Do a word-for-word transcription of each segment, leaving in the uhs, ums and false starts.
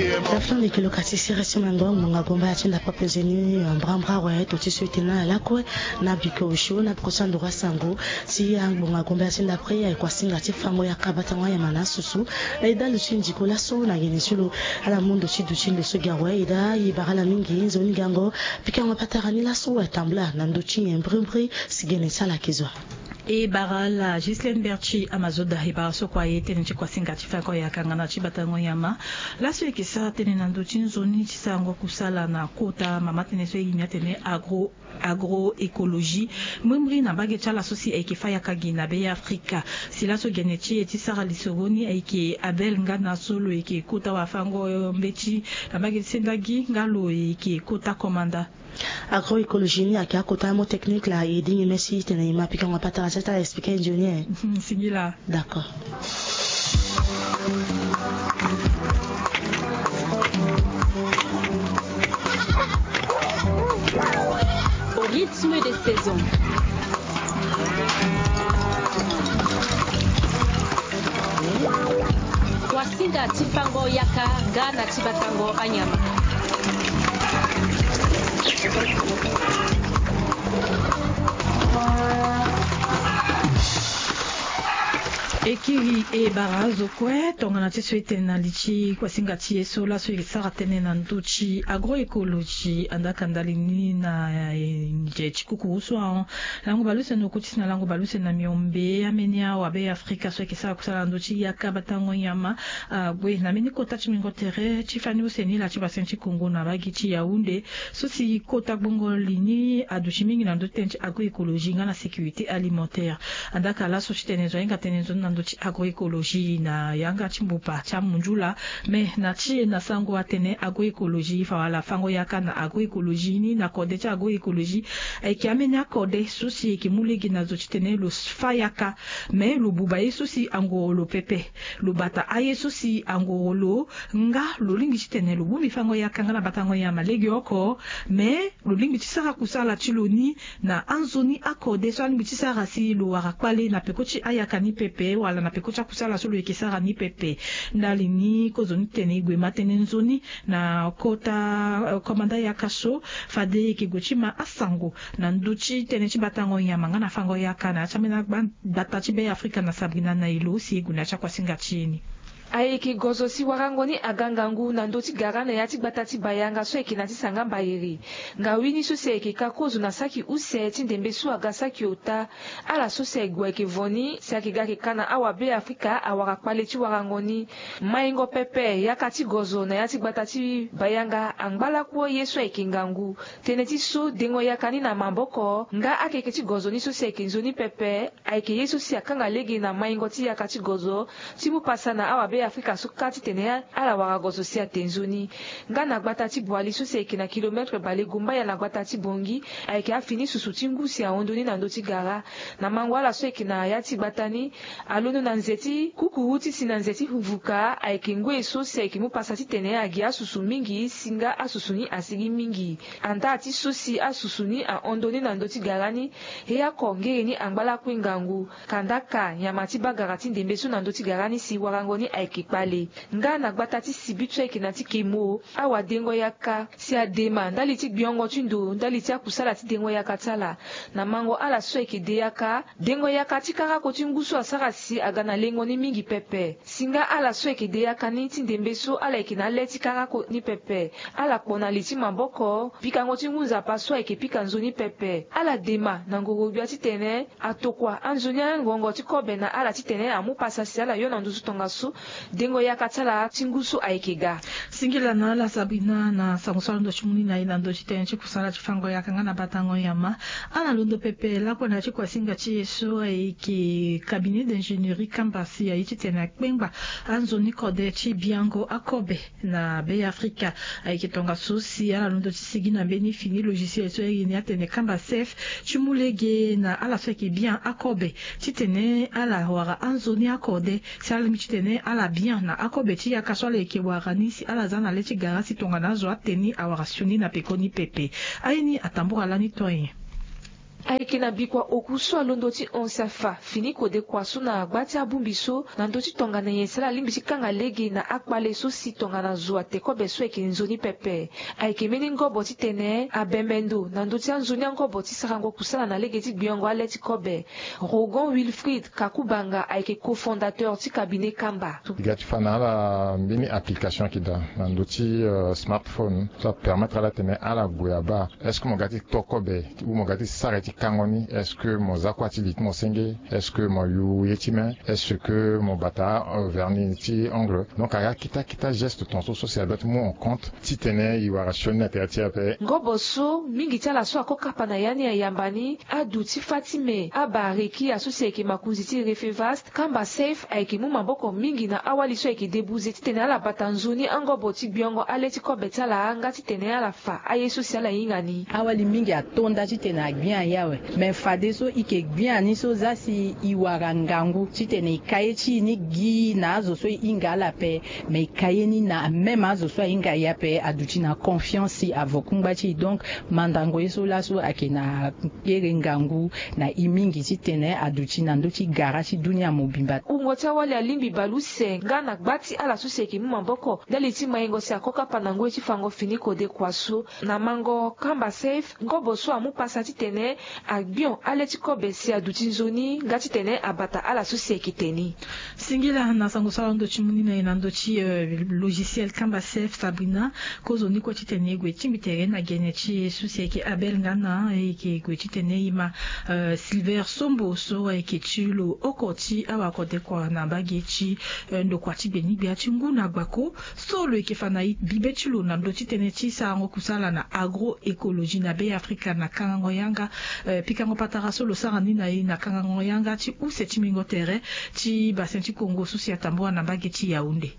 Tafandi kilo kasi sere si mango ngbonga gomba ya ti ndapre pezeni mbrambra we to ti so ete na lakue na biko osio na biko sandura sango. Si angbonga gomba ya ti ndapre aye kua singa ti fango yaka batango anyama na asusu. Na eda lo ti ndiko laso na gene ti lo ala mu ndo ti du ti ndo so gi awe eda ye bara ala mingi nzoni gango. Pikango patara ni laso atambula na ndo ti nyen mbrimbri. Si gene ti ala ke zo. E bara ala Gislaine Berti Amazoda e bara so kua ye tënë ti kuasinga ti fango yaka nga na ti batango nyama. Laso e yeke sara tënë na ndö ti nzoni ti sarango kusala na kota mama tënë so e yini atene agro agroécologie. Mbrimbri na mbage ti ala so si ayeke fa yaka gi na be afrika. Si laso gene ti e ti sara lisoro ni ayeke abel nga na so lo yeke kota wafango mbeti na mbage ti sendagi nga lo yeke kota komanda. Agroécologie ni ayeke akota mo technique la e dingi mesi tene e ma pikango patara ti ata expliquer nzoni e. Singila. D'accord. Au rythme des saisons. Kuasinga ti fango yaka nga na ti batango anyama. E kiri e bara azo kue tongana ti so e tene na li ti kuasinga ti e so laso e sara tënë na ndö ti agroécologie andaka ndali ni na nze ti kukuru so ahon. Lango baleuse na okotisi na lango baleuse na miombe ameni awabe afrika so ayeke sara kusala na ndö ti yaka batango nyama. Ague na mbeni kota ti mingo tere ti fani use ni la ti basin ti kongo na mbage ti yaounde. So si kota gbongo li ni aduti mingi na ndö ti tënë ti agroécologie nga na sécurité alimentaire. Andaka laso ti tene zo ahinga tënë nzoni na ndö ti agroécologie na yanga ti mbupa ti amunzula. Mais na ti e na sango atene agroécologie fa wala fango yaka na agroécologie ni na kode ti agroécologie. Ayeke ameni akode so si eke mu lege na zo ti tene lo fa yaka mais lo buba ye so si angoro lo pepe. Lo bata aye so si angoro lo nga lo lingbi ti tene lo bongbi fango yaka nga na batango nyama lege oko. Mais lo lingbi ti sara kusala ti lo ni na anzoni akode so alingbi ti sara si lo wara kpale na peko ti ayaka ni pepe wala na peko ti akusala so lo yeke sara ni pepe. Ndali ni kozo ni tene e gue ma tënë nzoni na kota komanda yaka so fade e yeke gue ti ma asango na ndö ti tënë ti batango nyama nga na fango yaka na ya ti ambeni agbata ti be afrika na sabrina na elo si e gue na ya ti akuasinga ti e ni. Ayeke gozo si warango ni aga ngangu na ndö ti gara na ya ti gbata ti bayanga so ayeke na ti sanga mbayere. Ngawini so si ayeke ka kozo na saki use ti ndembe so aga saki ota. Ala so si ague ayeke vo ni si ayeke ga ayeke ka na awabe afrika awara kpale ti warango ni. Maingo pepe yaka ti gozo na ya ti gbata ti bayanga angba lakue ye so ayeke ngangu. Tënë ti so dengo yaka ni na maboko nga akeke ti gozo ni so si ayeke nzoni pepe. Ayeke ye so si akanga lege na maingo ti yaka ti gozo ti mu pasa na awabe afrika so kâ titene ala wara gozo si ate nzoni. Nga na gbata ti boili so si ayeke na kilometre balegumbaya na gbata ti bongi. Ayeke afini susu ti ngu si ahon ndoni na ndö ti gara. Na mango ala so ayeke na ya ti gbata ni alondo na nze ti kukuru ti si na nze ti vuka ayeke ngoi so si ayeke mu pasa titene agi asusu mingi si nga asusu ni asigi mingi. Andaa ti so si asusu ni ahon ndoni na ndö ti gara ni. He oko ngere ni angba lakue ngangu. Kandaka nyama ti bagara ti ndembe so na ndö ti gara ni si warango ni ayeke kpale. Nga na gbata ti sibi so ayeke na ti kemo awadengo yaka si adema ndali ti gbiongo ti ndo ndali ti akusala ti dengo yaka ti ala. Na mango ala so ayeke de yaka dengo yaka ti karako ti ngu so asara si aga na lengo ni mingi pepe. Si nga ala so ayeke de yaka ni ti ndembe so ala yeke na ale ti karako ni pepe. Ala kpo na li ti maboko pikango ti ngu nzapa so ayeke pika nzoni pepe ala dema na ngorogbia titene atokua anzoni angongo ti kobe na ala titene amu pasa si ala yo na nduzu tongaso. Dengo yaka ti ala ti ngu so ayeke ga. Singila na ala sabrina na sango so alondo ti mu ni na ye na ndö ti tënë ti kusala ti fango yaka nga na batango nyama. Ala londo pepe lakue na ya ti kuasinga ti e so ayeke cabinet d'ingénierie kamba si aye titene akpengba anzoni kode ti biango akobe na be afrika. Ayeke tongaso si ala londo ti sigi na mbeni fini logiciel so aye ni atene kamba sef ti mu lege na ala so ayeke bien akobe titene ala wara anzoni akode si ala lingbi titene ala bien na akobe ti yaka so ala yeke wara ni si ala za na le ti gara si tongana azo ate ni awara sioni na peko ni pepe. Aye ni atambura lani to nyen? Ayeke na bikua oku so alondo ti hon si afa fini kode kua so na gba ti abongbi so na ndö ti tongana nyen si ala lingbi ti kanga lege na akpale so si tongana zo ate kobe so ayeke nzoni pepe. Ayeke mbeni ngobo titene abembe ndo na ndö ti anzoni angobo ti sarango kusala na lege ti gbiongo ale ti kobe. Rogon Wilfried Kakubanga ayeke cofondateur ti cabinet Kamba. E ga ti fa na ala mbeni application ayeke daa na ndö ti smartphone so apermettre ala tene ala gue abaa. Est-ce que mo ga ti to kobe ou mo ga ti sara ye ti kango ni? Est-ce que mo za kua ti li ti mo senge? Est-ce que mo yu ye ti me? Est-ce que mo bata vernis ti ongle? Donc aga kita kita geste tongaso so si adoit ti mu en compte titene e wara sioni na tere ti e ape. Ngobo so mingi ti ala so ako kapa na ya ni ayamba ni adu ti fa ti me. Abareki aso si ayeke makonzi ti Refevast, Kamba Safe ayeke mu maboko mingi na awali so ayeke debuze titene ala bata nzoni angobo ti gbiongo ale ti kobe ti ala nga titene ala fa aye so si ala hinga ni. Awali mingi ato nda titene agbia aye awe. Me fadeso e yeke gbia ni so za si e wara ngangu titene e ka ye ti e ni gi na azo so e hinga ala ape. Me e ka ye ni na même azo so ahinga e ape aduti na confiance si avo kungba ti e. Donc mandango ye so laso ayeke na kere ngangu na e mingi titene aduti na ndö ti gara ti dunia mobimba. Wungo ti awali alingbi bale use nga na gba ti ala so si ayeke mu maboko ndali ti maingo si ako kapa na ngoi ti fango fini kode kua so. Na mango Kamba Safe, ngobo so amu pasa titene agbion ale ti kobe si aduti nzoni nga titene abata ala so si ayeke te ni. Singila na sango so ala hon ndo ti mu ni na e na ndö ti logiciel Kamba Safe Sabrina. Kozoni kue titene e gue tingbi tere na gene ti e so si ayeke Abel nga na e yeke gue titene e ma Silver Sombo so ayeke ti lo oko ti awakode kua na mbage ti ndokua ti gbeni-gbia ti ngu na gbako. So lo yeke fa na e bibe ti lo na ndö ti tënë ti sarango kusala na agroecologie na Be Afrika na kangango yanga. Pikango patara so lo sara ni na e na kangango yanga ti use ti mingo tere ti Bassin ti Congo so si atambula na mbage ti Yaoundé.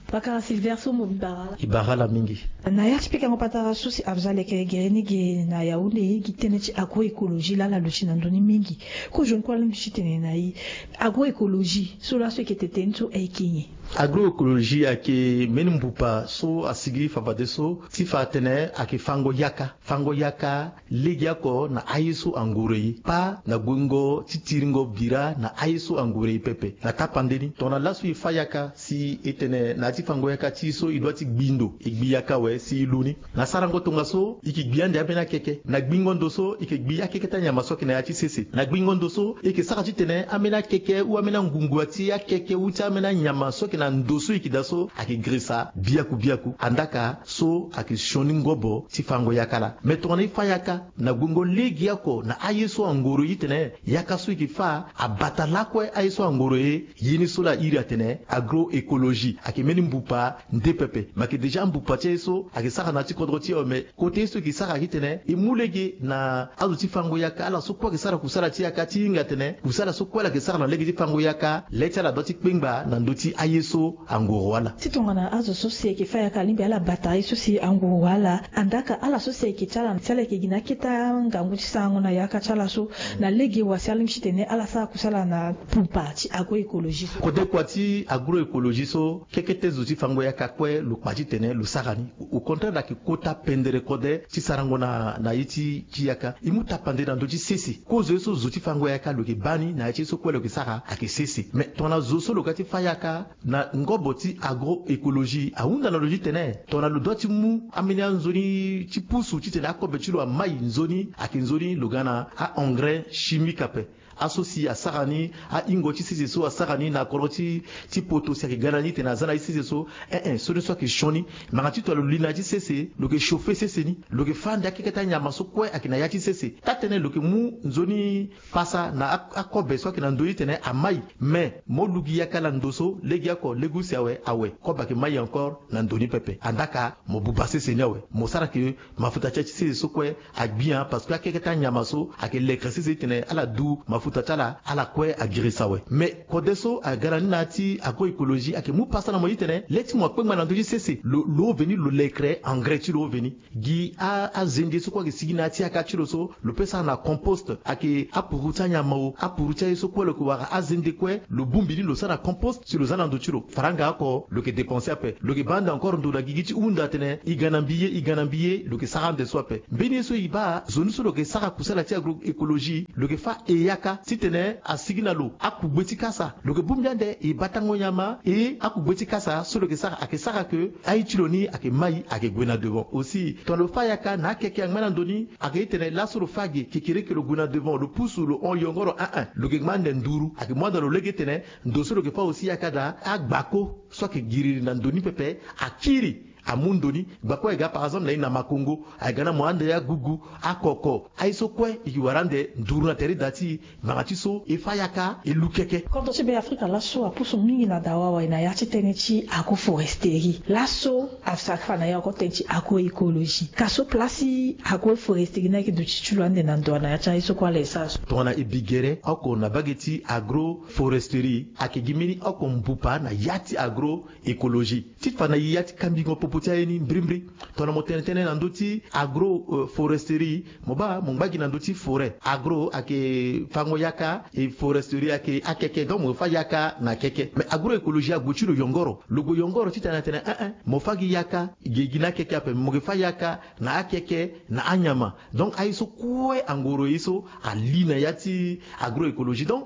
Pakara Silver so mo bi bara ala. E bara ala mingi. Na ya ti pikango patara so si afa za leke gere ni ge na Yaoundé, gi tënë ti agroecologie laa ala luti na ndö ni mingi. Kozoni kue alingbi ti tene na e agroecologie so laso eke tene so ayeke nyen? Agroecologie ayeke mbeni mbupa so asigi fafadeso ti fa atene ayeke fango yaka. Fango yaka legeoko na aye so angoro e, pas na guengo ti tiringo bira na aye so angoro e pepe. Na tapande ni tongana laso e fa yaka si e tene na ya ti fango yaka ti e so e doit ti gbi ndo, e gbi yaka awe si e lu ni. Na sarango tongaso e yeke gbi ande ambeni akeke. Na gbingo ndo so e yeke gbi akeke ti anyama so ayeke na ya ti sese. Na gbingo ndo so e yeke sara titene ambeni akeke ou ambeni angungua ti akeke ou ti ambeni anyama so ayeke na ndo so e yeke daa so ayeke gresa biaku biaku. Andaka so ayeke sioni ngobo ti fango yaka laa. Me tongana e fa yaka na guengo legeoko na aye so angoro e titene yaka so e yeke fa abata lakue aye so angoro e. Ye ni so laa a iri atene agroecologie ayeke mbeni mbupa nde pepe. Me ayeke déjà mbupa ti aye so ayeke sara na ya ti kodro ti e awe. Me kota ye so e yeke sara ayeke titene e mu lege na azo ti fango yaka, ala so kue ayeke sara kusala ti yaka ti hinga atene kusala so kue ala yeke sara na lege ti fango yaka, le ti ala doit ti kpengba na ndö ti aye so angoro ala. Ti tongana azo so si ayeke fa yaka alingbi ala bata aye so si angoro ala, andaka ala so si ayeke ti ala si ala yeke gi na akete angangu ti sarango na yaka ti ala so, na lege wa si alingbi titene ala sara kusala na mbupa ti agroecologie so. Kode kua ti agroecologie so, kekete zo ti fango yaka kue lo kpa titene lo sara ni. Au contraire, ayeke kota pendere kode ti sarango na na ye ti ti yaka. E mu tapande na ndö ti sese. Kozo ye so zo ti fango yaka lo yeke baa ni na ya ti ye so kue lo yeke sara ayeke sese. Me tongana zo so lo ga ti fa yaka na ngobo ti agroecologie ahunda na lo titene tongana lo doit ti mu ambeni anzoni ti pusu titene akobe ti lo amai nzoni, ayeke nzoni lo ga na a-engrais chimique ape. Aso si asara ni, ahingo ti sese so asara ni na kodro ti ti poto si ayeke ga na ni titene aza na ye ti sese so. Ee, so ni so ayeke sioni. Me anga ti tongana lo li na ya ti sese, lo yeke chauffer sese ni, lo yeke fâ ande akeke ti anyama so kue ayeke na ya ti sese. Taa-tënë lo yeke mu nzoni pasa na akobe so ayeke na ndö ni titene amai. Me mo lu gi yaka laa ndo so legeoko, lege use awe, awe kobe ayeke mai encore na ndo ni pepe. Andaka mo buba sese ni awe, mo sara ke mafuta ti ya ti sese so kue agbia, parce que akeke ti anyama so ayeke lekere sese titene ala du mafuta. kota ti ala ala kue agirisa awe. Mais kode so aga na ni na ya ti agroecologie ayeke mu pasa na mo titene le ti mo akpengba na ndö ti sese lo lo veni lo lekre engrais ti lo veni. Gi azende so kue ayeke sigi na ya ti yaka ti lo so lo pe sara na compost, ayeke apuru ti anyama o, apuru ti aye so kue lo yeke wara azende kue lo bongbi ni lo sara na compost si lo za na ndo ti lo. Faranga oko lo yeke dépenser ape. Lo yeke baa ande encore ndo na gigi ti hunda atene e ga na mbi ye, e ga na mbi ye, lo yeke sara ande so ape. Mbeni ye so e baa, nzoni so lo yeke sara kusala ti agroecologie lo yeke fâ e yaka titene asigi na lo akugbe ti kasa. Lo yeke bongbi ande e batango nyama e akugbe ti kasa so lo yeke sara ayeke sara ke aye ti lo ni ayeke mai ayeke gue na devant. Aussi tongana lo fâ yaka na akeke angba na ndo ni ayeke tene laso lo fâ ge kekereke lo gue na devant lo pusu lo hon yongoro, un un lo yeke ngba ande nduru ayeke mu ande lo lege tene ndo so lo yeke fâ aussi yaka daa agbako so ayeke giriri na ndo ni pepe akiri amu ndo ni. Gbako ayeke ga par exemple na ye na makongo ayeke ga na mo ande agugu akoko aye so kue e ke wara ande nduru na tere da ti e. Ngbanga ti so e fâ yaka e lu keke. Kodro ti Beafrika laso apusu mingi na dawa awe na ya ti tënë ti agroforesterie. Laso asara fa na ya oko tënë ti agroecologie. Ka so place ti agroforesterie ni ayeke duti ti lo ande na ndo na ya ti aye so kue ala e sara so. Tongana e bi gere oko na mbage ti agroforesterie ayeke gi mbeni oko mbupa na ya ti agro écologie. Ti fa na e ya ti kambingo popo ti aye ni mbirimbiri. Tongana mo tene tënë na ndö ti agro foresterie mo baa mo ngba gi na ndö ti forêt. Agro ayeke fango yaka e foresterie ayeke akeke donc mo fâ yaka na keke. Mais agroecologie agbo ti lo yongoro lo gbo yongoro ti tene atene un un mo fâ gi yaka ge gi na akeke ape mo ke fâ yaka na akeke na anyama. Donc aye so kue angoro ye so ali na ya ti agroecologie donc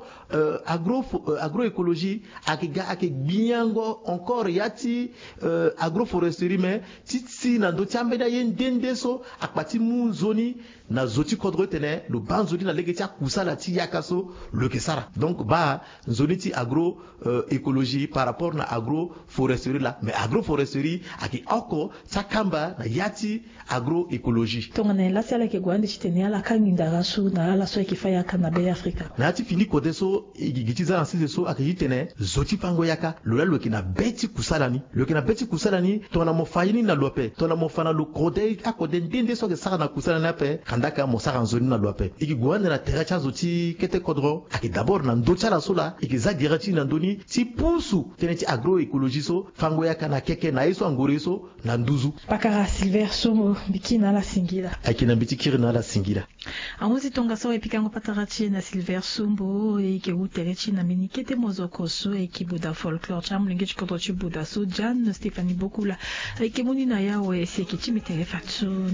agro agroecologie ayeke ga ayeke gbiango encore ya ti agroforesterie mais ti si na ndö ti ambeni aye nde nde so akpa ti mu nzoni na zo ti kodro ti tene lo baa nzoni na lege ti akusala ti yaka so lo yeke sara. Donc baa nzoni ti agro écologie par rapport na agroforesterie laa mais agroforesterie ayeke oko ti akamba na ya ti agroecologie. Tongana nyen laa si ala yeke gue ande titene ala ka nginda ra so na ala so ayeke fâ yaka na be afrika? Na ya ti fini kode so e gi gi ti za na sese so ayeke titene zo ti fango yaka lo laa lo yeke na be ti kusala ni. Lo yeke na be ti kusala ni tongana mo fa ye ni na lo ape tongana mo fa na lo kode akode nde nde so ayeke sara na kusala ni ape kandaka mo sara nzoni na lo ape. E gi gue ande na tere ti azo ti kete kodro ayeke d'abord na ndö ti ala so laa e yeke za gere ti e na ndö ni ti pusu tënë ti agroecologie so fango yaka na keke na ye so angoro ye so na nduzu. Pakara Silver Sombo, mbi kiri na ala singila. Ayeke na mbi ti kiri na ala singila. Ahunzi tongaso e pikango patara ti e na Silver Sombo e yeke wu tere ti e na mbeni kete mozoko so e yeke buda folklore ti amolenge ti kodro ti buda so Jeanne Stéphanie Bokula. E yeke mu ni na yawe si e yeke ti mbi tere fadeso.